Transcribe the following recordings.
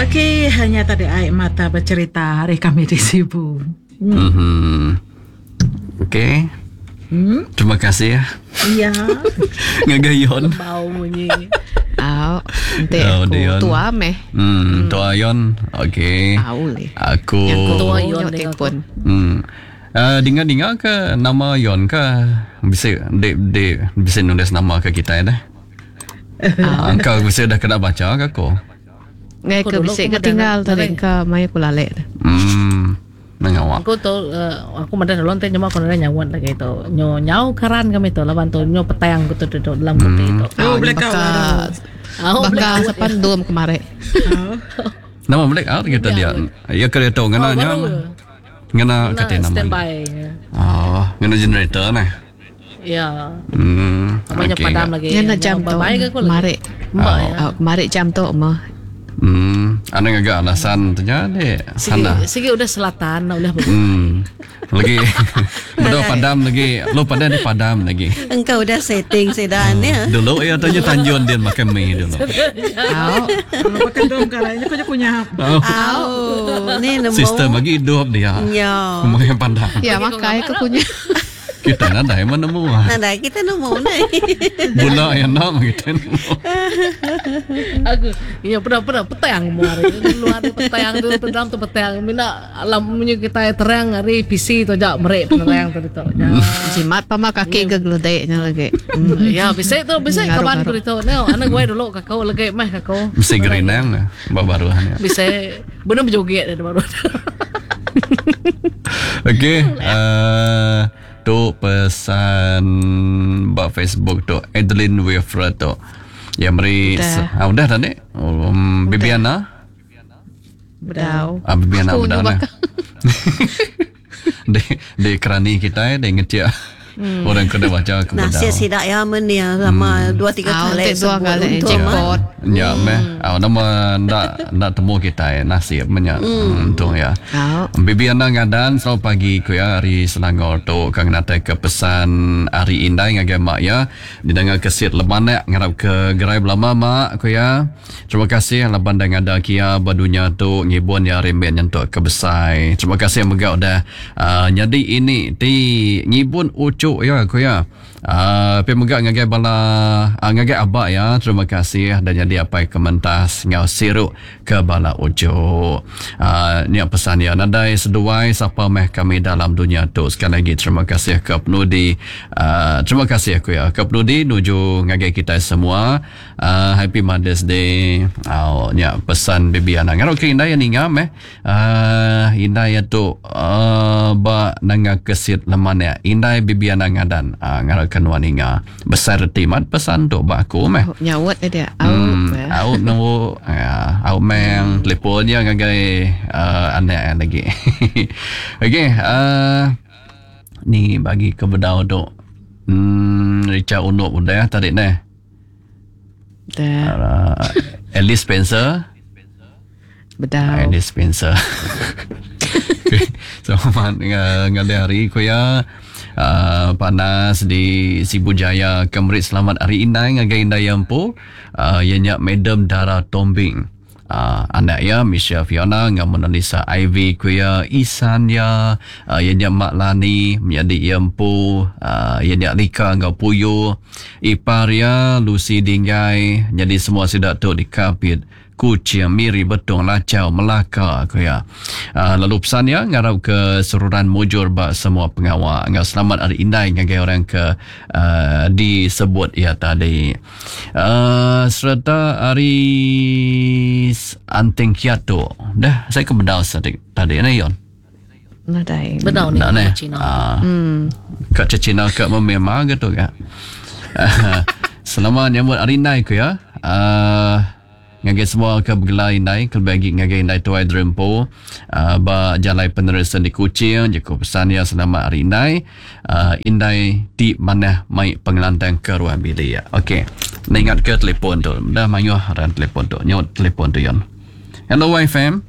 Okey, hanya tadi ai mata bercerita hari kami di Sibu. Mhm. Okey. Terima kasih ya. Ya. Ngagai Yon. Bau munyi. Au, enti Oh, aku Dion. tua meh. Tua Yon. Okey. Au leh. Aku Tua Yon Yon dengan telefon. Dinga-dinga ke nama Yon ke bisa di, di bisa nulis nama ke kita dah. Ah, Engkau bisa dah kena baca ke aku? Ngai Aku ke dulu bisi aku ke tinggal madah tadi ke mai aku lalek. Mengawak. Aku tu aku madah dulu nanti nyema aku nanya nyawan lagi tu. Nyo nyau keran kami tu laban tu nyo petang aku tu duduk dalam kopi tu. Oh, Au, blackout baka Oh, baka blackout. sepan dom kemari. Oh. Nama black out kita dia. Ya kereta ngena Oh, nya. baru. Ngena Kena kata nama. standby. Oh, ngena generator nah. Ya. Namanya Okey, padam enggak. lagi. Ngena jam tu. Bye ke aku lagi. Kemari. Mbak ya. Au, kemari jam tu mah. Ada agak alasan tu nya dek. Sigi, Sana. sigi udah selatan udah ber- Lagi Betul padam lagi. Lu padam di padam lagi. Engkau udah setting sedan ya. Dulu ya tanya Tanjun dia makan mie dulu. Au. Kalau pakai dom kalau ini kau punya. Oh, Au, ni nemu. sistem lagi hidup dia. Ya. Makan padam. Ya makai ke punya. Kita nadai mana nemu. ah. Nadai kita nemu ni. Bula yang nak kita nemu. Aku ya pernah pernah petang mu hari. Luar tu petang tu dalam tu petang. Mina alam punya kita terang hari PC tu jak merek penerang tu tu. Ya. Jimat pama kaki ke geledeknya lagi. Ya bisa tu bisa kawan Ngaruh-ngaruh. ku tu. Neo anak gue dulu kakau lagi meh kakau. Mesti gerinang lah. Baru ya. Bisa benar berjoget dia baru. Okey, tu pesan bak Facebook tu Adeline Wilfred tu. Yang beri Udah. ah, udah tadi. Bibiana. Bedau. Ah, Bibiana Aku udah nyubak. nah. Di di kerani kita di ngetiak. Orang kena baca ke Nasib bedau. sidak ya men ya sama dua tiga Au, kali tik dua sebut kali, untuk jackpot. mah. Ya, meh. Ah, nama ndak ndak temu kita eh, nasib menya. Untung ya. Au. Bibiana ngadan selamat pagi ku ya hari Selangor tu kang natai ke pesan hari indai ngagai mak ya didengar ke sit lemanak ngarap ke gerai belama mak ku ya. Terima kasih laban dah ngada kia badunya tu ngibun ya rembet nyentuk ke besai. Terima kasih mega udah jadi ini ti ngibun ucuk ya ku ya. Pi mega ngagai bala ngagai abak ya. Terima kasih dan jadi apa kementas ngau siruk ke bala ucuk. Ni pesan ya nadai seduai sapa meh kami dalam dunia tu. Sekali lagi terima kasih ke penudi. Terima kasih aku ya ke penudi nuju ngagai kita semua. Happy Mother's Day. Oh, ni pesan bibi anak. Ngarap ke indai yang ninga meh. Indai ya tu ba nanga kesit leman ya. Indai bibi anak ngadan. Ngarap ke nuan ninga. Besar reti mat pesan tu ba aku meh. Nyawat dia. Au. Ya. Au nemu ya, au meng teleponnya ngagai anak lagi. Okey, ni bagi ke bedau tu. Richard Unuk udah tadi ni. Dah. Alice Spencer. Bedau. Alice Spencer. Okay. Selamat ngalih hari ku ya. Panas di Sibu Jaya Kemerit selamat hari indai ngagai indai empu ianya Madam Dara Tombing. Anak ya Michelle Fiona dengan Mona Lisa Ivy ku ya Isan ya ianya Mak Lani menjadi ia empu ianya Lika ngau Puyo ipar ya Lucy Dinggai jadi semua sidak tu di Kapit Kuching, Miri, Betong, Lacau, Melaka aku ya. Lalu pesan ya ngarap ke seruran mujur bak semua pengawal. Ngau selamat hari indai ngagai orang ke disebut ya tadi. Serta hari Anting Kiato. Dah saya ke bedau tadi tadi ni Yon. Nadai. Bedau ni Nak ni. Cina. Kat Cina kat memang gitu kak. Selamat nyambut hari indai ku ya. Ngagai semua ke bergelar indai, ke bagi ngagai indai tuai drempo, ba jalai penerusan di Kuching, jeko pesan ya selamat hari indai, indai ti mana mai pengelantang ke ruang bilik ya. Okey. Nak ingat ke telefon tu. Dah mayuh ran telefon tu. Nyot telefon tu yon. Hello YFM.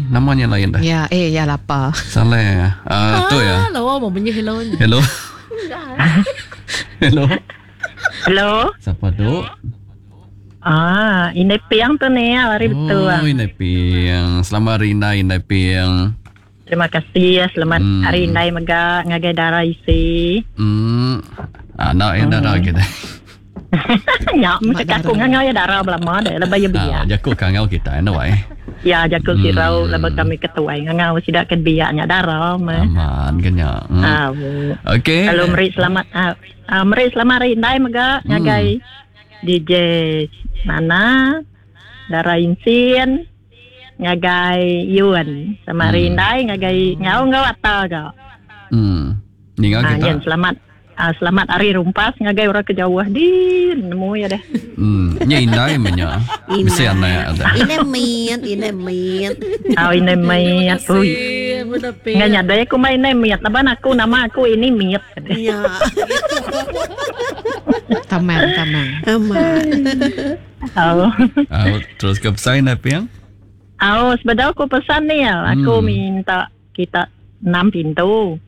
Namanya lain dah. Ya, ya lapar. Salah. Tu ya. Lawa mau bunyi hello ni. Hello. Hello. Hello. Siapa tu? Ah, indai piang tu ni ya, hari betul. Oh, indai piang. Selamat hari indai, indai piang. Terima kasih ya. Selamat hari indai mega ngagai dara isi. Anak yang dara kita. Ya, mesti aku ngangau ya dara belama deh, lebih ya biak. Ah, jaku kangau kita anu ai. Ya, jaku sirau lebih kami ketuai ngangau sidak ke biaknya dara mah. Aman kenya. Ah. Okey. Lalu meri selamat meri selamat hari indai mega ngagai DJ Nana, Dara Insin, ngagai Yun. Selamat hari indai ngagai ngau ngau ata ga. Ninga kita. Yen, selamat selamat hari rumpas ngagai orang ke jauh di nemu ya deh. Nya indai menya. Mesti anak ada. Ini miat, ini miat. Oh, ini miat. Ui. Nggak nyadai aku main ini miat. Laban aku nama aku ini miat. Ya. Tamang, tamang. Aman. Oh. Terus ke pesan apa yang? Oh, sebenarnya aku pesan ni ya. Aku minta kita 6 pintu.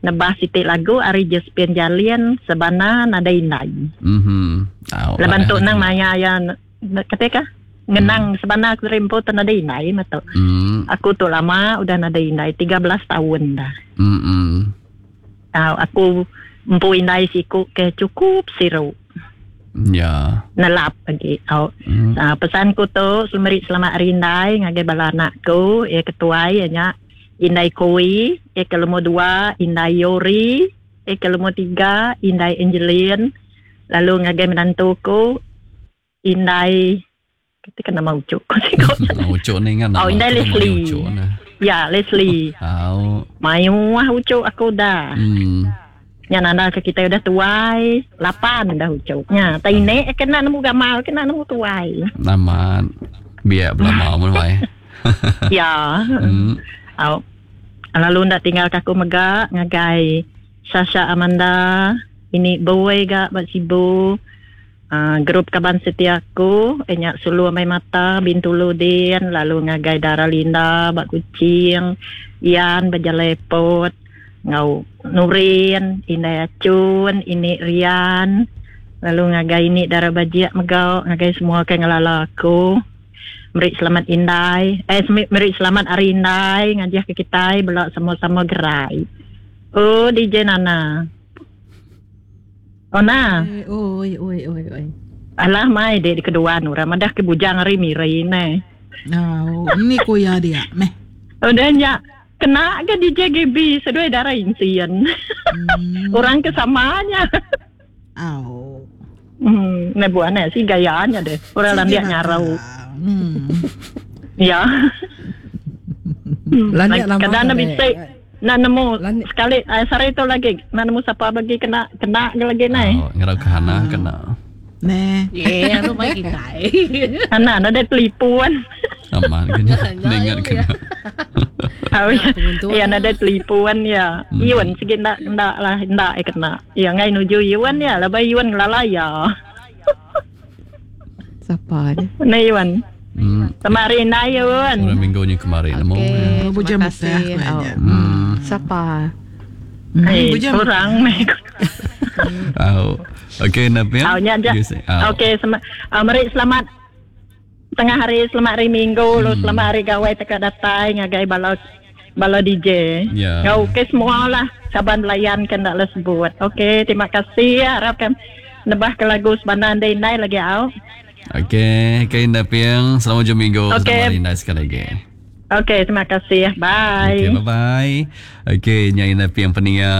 Nebah sitik lagu ari Josephine Jalin sebana nada indai. Leban tu nang maya ya ketika ngenang sebana aku rimpu tu nada indai mato. Aku tu lama udah nada indai 13 tahun dah. Aku empu indai siku ke cukup siru. Ya. Nelap lagi. Pesanku tu meri selamat hari indai ngagai bala anakku ya ketuai ya nya Indai Koi, ya ke lumur 2 Indai Yori, ya ke lumur 3 Indai Angeline, lalu ngagai menantuku Indai ketika nama ucuk. Ucuk ni kan nama. Oh, Indai Leslie. Ya, Leslie. Oh. Mayu ah ucuk aku dah. Nya nanda ke kita udah tuai, 8 dah ucuknya. Tai ini kena nemu gamal, kena nemu tuai. Nama biar belama mun wae. Ya. Oh. Lalu ndak tinggal aku mega ngagai Sasha Amanda, ini boy ga bak Sibu. Grup kaban setia aku, enyak sulu amai mata Bintulu din, lalu ngagai Dara Linda bak Kucing, Ian Bajalepot, ngau Nurin, Indai Acun, ini Rian, lalu ngagai ini Dara Bajiak megau, ngagai semua ke ngelala aku. Meri selamat indai, meri selamat hari indai, ngajah ke kita belak sama-sama gerai. Oh, DJ Nana. Oh, nah. Oi, oi, oi, oi. Alah, mai dek di keduan orang. Madah ke bujang hari mirai ni. Oh, ini kuya dia, meh. Udah nyak. Kena ke DJ GB seduai darah insian. Orang kesamanya. Oh. Nah buana sih gayanya deh. Orang landiak nyarau. Ya. Kadang nak bisa nak nemu sekali sore itu lagi nak nemu siapa bagi kena kena lagi nai. Oh, ngerau ke hana kena. Neh. Ya, lu mai kita. Hana ada pelipuan. Aman kena. Ingat kena. Oh, ya, ada pelipuan ya. Iwan sikit ndak ndak lah ndak kena. Ya ngai nuju Iwan ya, labai Iwan ngelala ya. Siapa ni? Ni Iwan. Sama hari ni Iwan. Orang minggu ni kemarin nemu. Okey, terima kasih. Siapa? Orang ni. Okey, Nabi. Okey, meri selamat tengah hari, selamat hari Minggu, lu selamat hari gawai tekak datai ngagai bala bala DJ. Ya. Ngau okey semua lah. Saban layan kan dak sebut. Okey, terima kasih ya. Harapkan nebah ke lagu sebanan dai nai lagi au. Okey, okey Napiang, selamat hujung minggu. Okey. Selamat hari nai sekali lagi. Okey, terima kasih. Bye. Okey, bye-bye. Okey, nyai Napiang peninga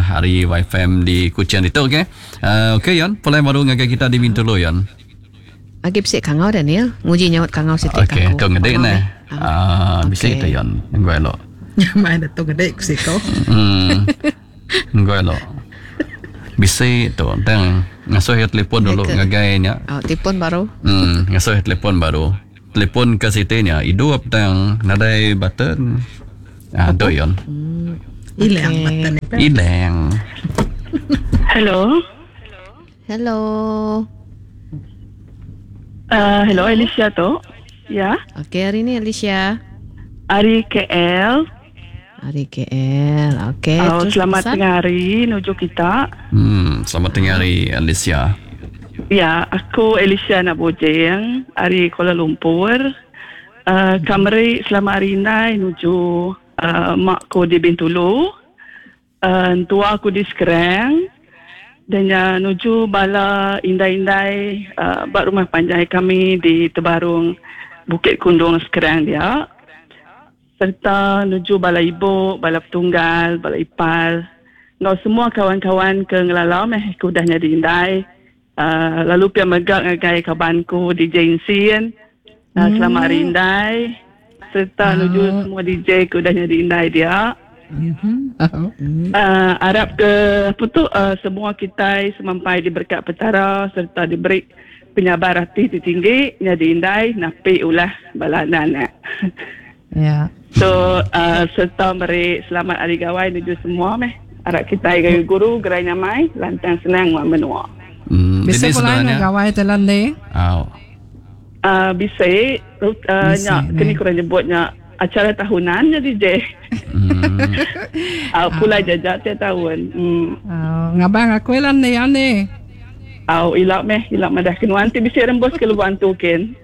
hari YFM di Kuching itu, okey. Okey, Yon, pulai baru ngagai kita di Bintulu, Yon. Agi bisik kangau Daniel. Nguji nyaut kangau sitik Okey, kangau. tu ngedek nah. Bisik tu Yon. Ngoi elok. Mai dah tu ngedek ku siko. Ngoi elok. Bisik tu tang ngasuh ya telefon dulu ngagai nya. Oh, telefon baru. Ngasuh ya telefon baru. Telefon ke siti nya hidup tang nadai button. Tu Yon. Hilang button ni. Hilang. Hello. Hello. Hello Alicia tu. Ya. Okey, hari ni Alicia. Hari KL. Hari KL. Okey. Oh, selamat pesan? tengah hari nuju kita. Selamat tengah hari Alicia. Ya, aku Alicia anak Bojeng ari Kuala Lumpur. Uh, ka meri selamat hari indai nuju uh, mak ku di Bintulu. Uh, entua aku di Skrang. Dan nya nuju bala indai-indai uh, ba rumah panjai kami di Tebarung Bukit Kundung Skrang dia. Serta nuju bala ibu, bala petunggal, bala ipar enggau semua kawan-kawan ke ngelala meh ke udah nyadi indai. Uh, lalu pia mega ngagai kaban ku DJ Insin. Uh, selamat hari indai serta nuju semua DJ ke udah nyadi indai dia. Uh, arap ke apa tu uh, semua kitai semampai diberkat Petara serta diberi penyabar ati ti tinggi nyadi indai napi ulah bala anak-anak. Ya. So uh, serta meri selamat hari gawai nuju semua meh. Arap kitai gayu guru gerai nyamai lantang senang nguan menua. Bisa Jadi pulai sebenarnya gawai telan le. Au. Bisi uh, Bisi, nya kini kurang nyebutnya acara tahunan nya DJ. Pulai jajak tiap tahun. Oh, ngabang aku lan ni ani. Au ila meh ila madah kenuan ti bisi rembus ke Lubok Antu kin.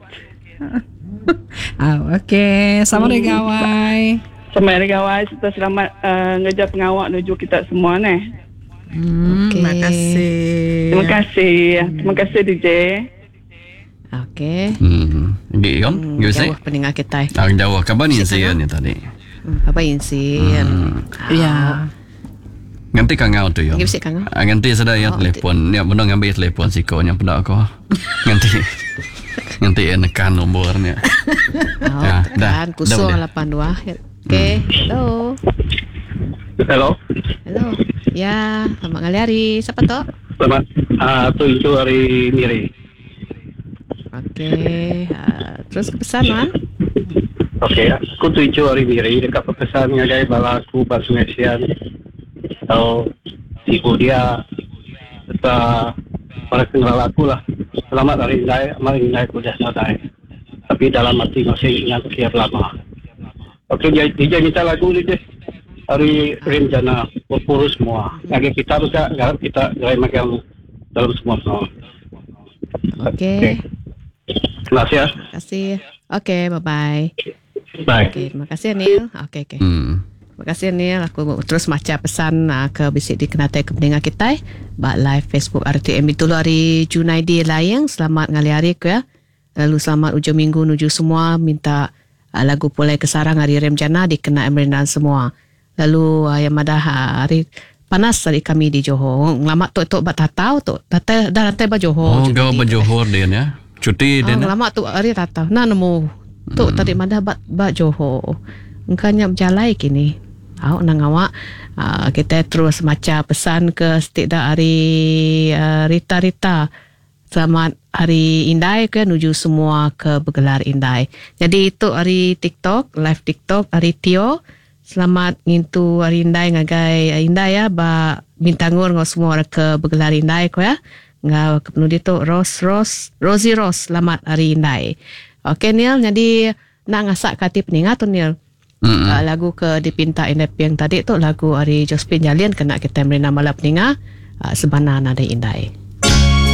Oh, okey. Sama hari gawai. Selamat hari gawai serta selamat uh, ngereja pengawa nuju kita semua neh. Okey. Terima kasih. Terima kasih. Terima kasih DJ. Okey. Gi kom, gi bisi. Jauh pendengar kita. Ah, jauh kaban Insin ni tadi. Apa Insin? Ya. Nganti kangau tu yo. Gi bisi kangau. Ah, nganti sada ya telefon. Ya benar ngambil telefon siko nya peda aku. Nganti. Nganti ya nekan nombor ni. Oh, Ya, dah. tekan Dah boleh. 082. Okey. Hello. Hello. Hello. Ya, selamat ngalih hari. Siapa tu? Selamat tu itu hari Miri. Okey. Terus ke pesan Wan? Okey, aku tuju hari Miri dekat pesan ngagai bala aku ba Sungai Sian. Atau ibu dia serta para kenal aku lah. Selamat hari Indai, amat Indai aku dah selesai. Tapi dalam hati masih ingat tiap lama. Okey, dia, DJ minta lagu ni je. Hari Rimjana, berpuru semua. Ngagai kita juga, garap kita gerai makan dalam semua semua. Okey. Terima kasih ya. Terima kasih. Okey, bye-bye. Bye. Okey, terima kasih Neil. Okey, okey. Terima kasih Neil. Aku terus baca pesan ke bisik di Kenatai ke pendengar kita. Bak live Facebook RTM itu hari Junaidi Layang. Selamat ngalih hari ku ya. Lalu selamat ujung minggu nuju semua minta lagu Pulai ke Sarang hari Remjana dikena Emrindan semua. Lalu yang madah hari panas hari kami di Johor. Ngelamat tu tu bak tatau tu. Tatai dah rantai ba Johor. Oh, kau berjohor dia ya. Cuti dia. Oh, lama tu hari tatau. Nah nemu. Tu tadi madah bak bak Johor. Engkau berjalai kini. Awak nang awak kita terus baca pesan ke setidak hari Rita-Rita. Selamat hari Indai ke nuju semua ke bergelar Indai. Jadi itu hari TikTok, live TikTok hari Tio. Selamat ngintu hari Indai ngagai Indai ya ba bintangur ngau semua orang ke bergelar Indai ko ya. Ngau ke penudi tu Ros Ros Rosie Ros selamat hari Indai. Okey Neil jadi nak ngasak kati peningat tu Neil. Lagu ke dipinta Indai Piang tadi tu lagu hari Josephine Jalian kena kita beri nama lah peningat sebana nada Indai.